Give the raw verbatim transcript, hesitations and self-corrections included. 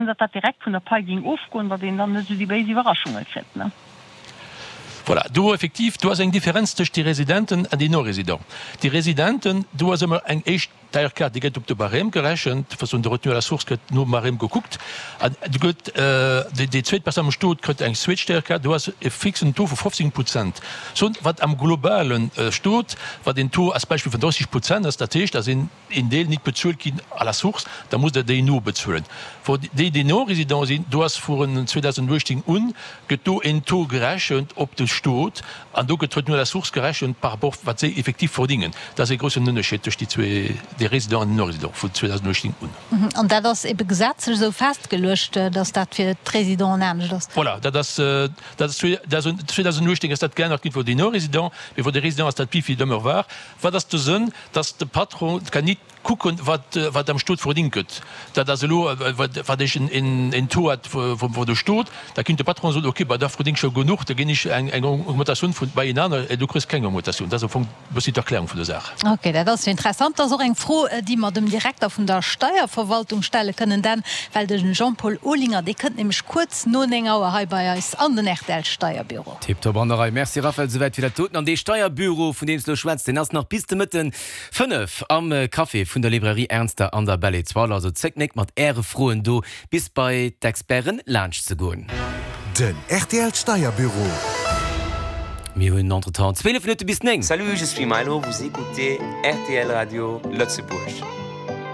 Datt dat direkt vun der Pai géing ofgoen, datt een dann net esou déi béis Iwwerraschunge kritt, ne? Voilà, do effektiv, do ass eng Differenz tëscht de Residenten an den Non-Résidents. Déi Residenten, do ass ëmmer eng éischt T R K, déi gëtt op de Barème gerechent, enfin de retenue à la source gëtt nom Barème gekuckt, an do gëtt déi déi zweet Persoun am Stot kritt eng zweet T R K, do ass e fixen Taux vu fofzéng Prozent. Soen, wat am globale Stot, wat een Taux als Beispill vun drësseg Prozent ass, dat heescht, dass een een Deel nit bezuelt ginn à la source, da muss Der déi nobezuelen. Wou déi, déi Non-Résidents sinn, do ass vun zweedausenduechtzéng un, gëtt do een Taux gerechent op de Stot an do gëtt d'Retenue à la source gerechent par rapport wat si effektiv verdingen. Dat ass e groussen Ënnerscheed tëscht déi zwee, déi Résidents an déi Non-Résidents vun zweedausenduechtzéng un. An dat ass ebe gesetzlech esou festgeluecht, datt dat fir d'Résidenten anescht ass? Voilà, dat ass, dat ass zweedausenduechtzéng ass dat geännert ginn fir déi Non-Résidents, mee fir déi Résidents ass dat wéi et ëmmer war. Wat ass de Sënn? Datt de Patron kann nit kucken, wat, wat am Stot verdingt gëtt. Dat ass elo, wat, wat ech en, en Taux hat vum de Stot, da kinnt de Patron soen, okay, bah, da verding ech scho genuch, da ginn ech eng, eng Augmentatioun vun bei een aner, du kriss keng Augmentatioun. Dat ass am Fong e bëssi d'Erklärung vun der Saach. Okay, dat ass jo interessant. Dat ass och eng Fro, déi mer dem Direkter vun der Steierverwaltung stelle kënnen, denn well de Jean-Paul Olinger, dee kënnt nämlech kuerz no néng Auer hei bei eis an den R T L-Steierbüro. Tiptop an der Rei. Merci Raphaël, souwäit fir dat doten. An dee Steierbüro, vun deem s du elo schwätz, deen ass nach bis de Mëtten fënnef am Café vun der Librairie Ernster an der Belle Etoile. Also zéckt net mat äre Froen do bis bei d'Experten laanscht ze goen. Den R T L Steierbüro. Mir hunn entretemps zwielef Minutte bis néng. Salut, je suis Milo, vous écoutez R T L Radio Lëtzebuerg.